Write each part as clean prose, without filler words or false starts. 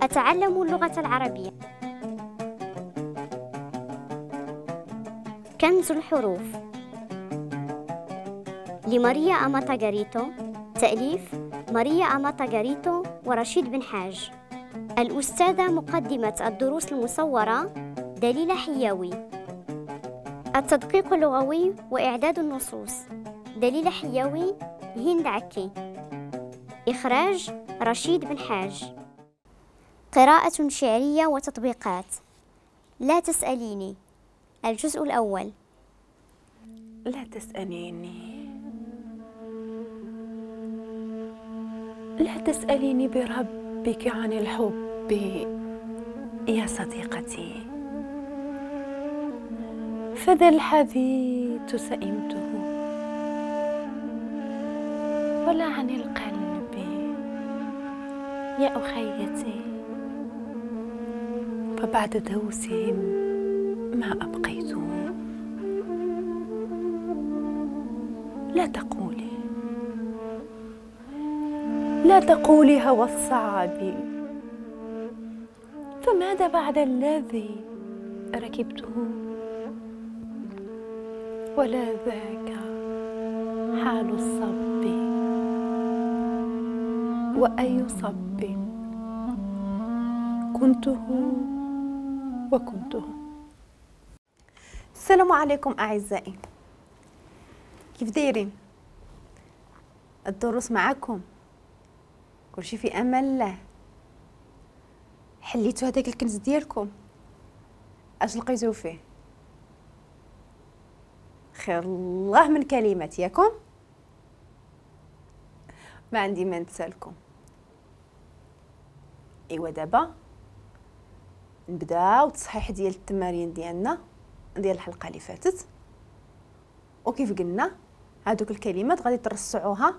أتعلم اللغة العربية. كنز الحروف لماريا أماتا غاريتو، تأليف ماريا أماتا غاريتو ورشيد بن حاج. الأستاذة مقدمة الدروس المصورة دليلة حياوي. التدقيق اللغوي وإعداد النصوص دليلة حياوي، هند عكي. إخراج رشيد بن حاج. قراءة شعرية وتطبيقات. لا تسأليني، الجزء الأول. لا تسأليني، لا تسأليني بربك عن الحب يا صديقتي، فذا الحديث سئمته، ولا عن القلب يا أخيتي، فبعد دوسهم ما أبقيته. لا تقولي، لا تقولي هوى الصعب، فماذا بعد الذي ركبته؟ ولا ذاك حال الصب، وأي صب كنته وكنته. السلام عليكم أعزائي، كيف دايرين؟ الدروس معكم، كلشي في امان الله. حليتو هذاك الكنز ديالكم، اش لقيتو فيه؟ خير الله من كلمات ياكم، ما عندي ما نتسالكم. ايوا دابا نبداو التصحيح ديال التمارين ديالنا ديال الحلقة اللي فاتت. وكيف قلنا هادوك الكلمات غادي ترصعوها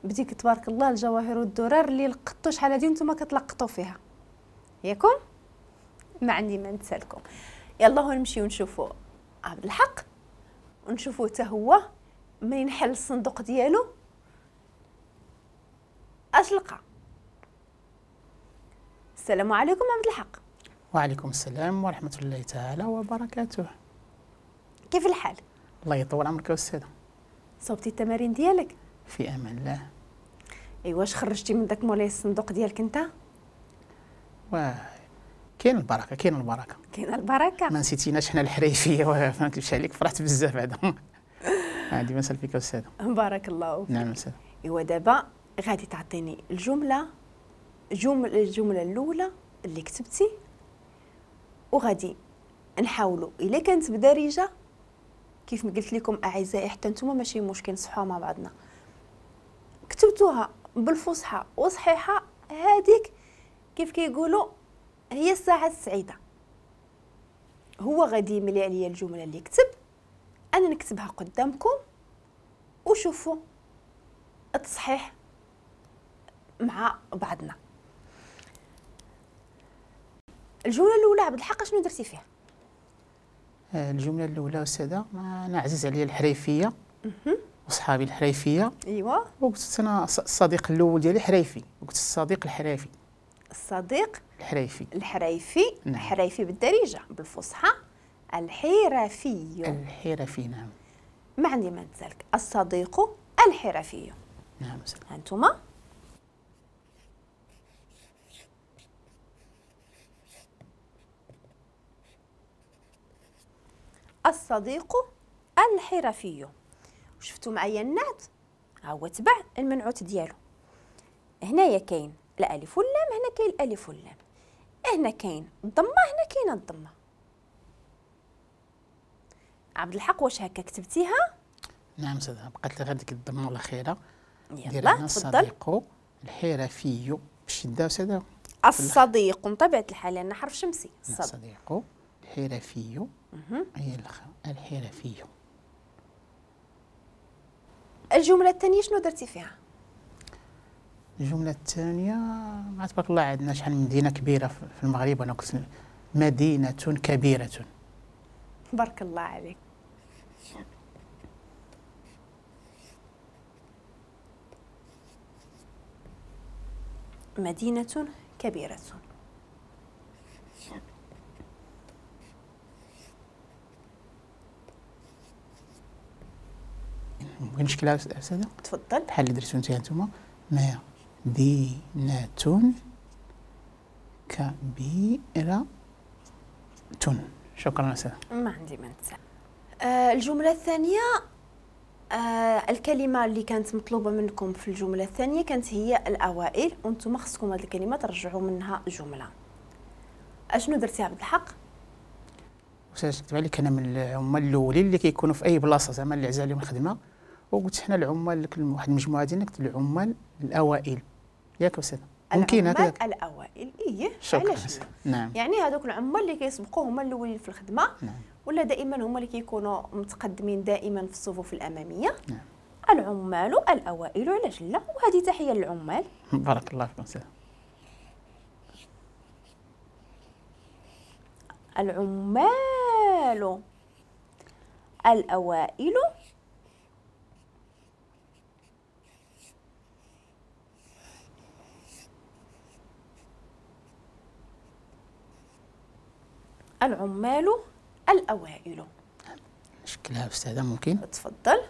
بديك تبارك الله الجواهر والدرر اللي لقطتو شحال هادي نتوما كتلقطوا فيها ياكم. ما عندي ما نتسالكم. يلا هو نمشيو نشوفوا عبد الحق، ونشوفوا حتى هو منين حل الصندوق ديالو اش لقى. السلام عليكم عبد الحق. وعليكم السلام ورحمة الله تعالى وبركاته. كيف الحال؟ الله يطول عمرك يا استاذه. صوبتي التمارين ديالك؟ في امان الله. ايوا واش خرجتي من داك مولاي الصندوق ديالك انت؟ واه كاين البركة، كاين البركة، كاين البركة. ما نسيتيناش حنا الحريفيه، ما نكذبش عليك فرحت بزاف هذا. عندي ما نسال فيك استاذه. بارك الله فيك. نعم استاذه. ايوا دابا غادي تعطيني الجملة، الجملة الاولى اللي كتبتي، وغادي نحاولوا الا كانت بدارجه كيف ما قلت لكم اعزائي حتى نتوما ماشي مشكل نصحوها مع بعضنا. كتبتوها بالفصحى وصحيحه، هذيك كيف كيقولوا هي الساعة السعيدة. هو غادي يملي عليا الجملة اللي كتب، انا نكتبها قدامكم وشوفوا التصحيح مع بعضنا. الجملة الاولى عبد الحق شنو درتي فيها؟ الجملة الاولى استاذه، انا عزيز عليا الحريفيه وصحابي الحريفيه. ايوا وقلت انا الصديق الاول ديالي حريفي، وقلت الصديق الحريفي. الصديق الحريفي. الحريفي. نعم. الحريفي بالدارجة، بالفصحى الحرفي. الحرفي نعم. ما عندي ما نتسالك، الصديق الحرفي. نعم. انتما الصديق الحرفي. شفتوا معايا النعت ها هو تبع المنعوت ديالو. هنايا كاين الالف واللام، هنا كاين الالف واللام، هنا كاين الضمة، هنا كاين الضمة. عبد الحق واش هكا كتبتيها؟ نعم استاذه، بقات لي غير ديك الضمة الاخيرة. يلا تفضل. الصديق الحرفي بالشدة استاذه. الصديق بطبيعة الحال لان حرف شمسي. الصديق الحرفي هي الحرفي. الجملة الثانية شنو درتي فيها؟ الجملة الثانية مع تبارك الله عندنا شحال من مدينة كبيرة في المغرب، وانا قلت مدينة كبيرة. بارك الله عليك. مدينة كبيرة. ممكن نشكلها أستاذة؟ تفضل. بحال اللي درتو نتوما، مدينة كبيرة. شكرا أستاذة. ما عندي ما نتسأل. الجملة الثانية، الكلمة اللي كانت مطلوبة منكم في الجملة الثانية كانت هي الأوائل، وانتم خصكم هذه الكلمة ترجعوا منها جملة. أشنو درتي عبد الحق؟ أستاذ كتب عليك أنا من العمال الأولين اللي كيكونوا في أي بلاصة زعما اللي عزا عليهم الخدمة، وقلت حنا العمال واحد المجموعة ديالنا قلت العمال الأوائل، ياك أستاذ؟ ممكن هكذا الأوائل. إيه علاش؟ نعم، يعني هذوك العمال اللي كيسبقوا هما الأولين في الخدمة. نعم. ولا دائما هما اللي كيكونوا متقدمين دائما في الصفوف الأمامية. نعم. العمال الأوائل، علاش لا؟ وهذه تحية للعمال. بارك الله فيكم أستاذ. العمال الأوائل العمال الأوائل. نشكلها أستاذة ممكن؟ تفضل.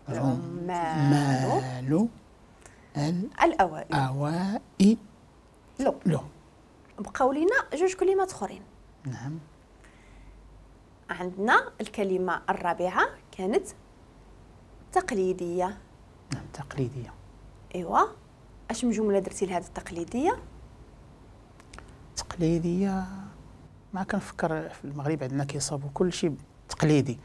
العمال الأوائل. الأوائل. لو بقاو لينا جوج كلمات أخرين. نعم. عندنا الكلمة الرابعة كانت تقليدية. نعم، تقليدية. إيوا، أش من جملة درتي لهذه التقليدية؟ تقليدية ما كنفكر في المغرب عندنا كيصابوا كل شيء تقليدي،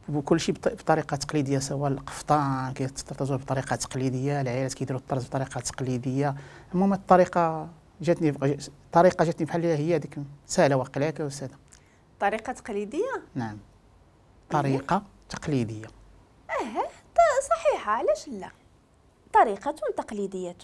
وكل شيء بطريقة تقليدية، سواء القفطان كيتطرزوه بطريقة تقليدية، العائلات كيديروا الطرز بطريقة تقليدية. المهم الطريقة جاتني، الطريقة جاتني بحال هي هذيك سهلة واقيلا، ياك أستاذة؟ طريقة تقليدية؟ نعم، طريقة تقليدية. صحيحة، علاش لا؟ طريقة تقليدية.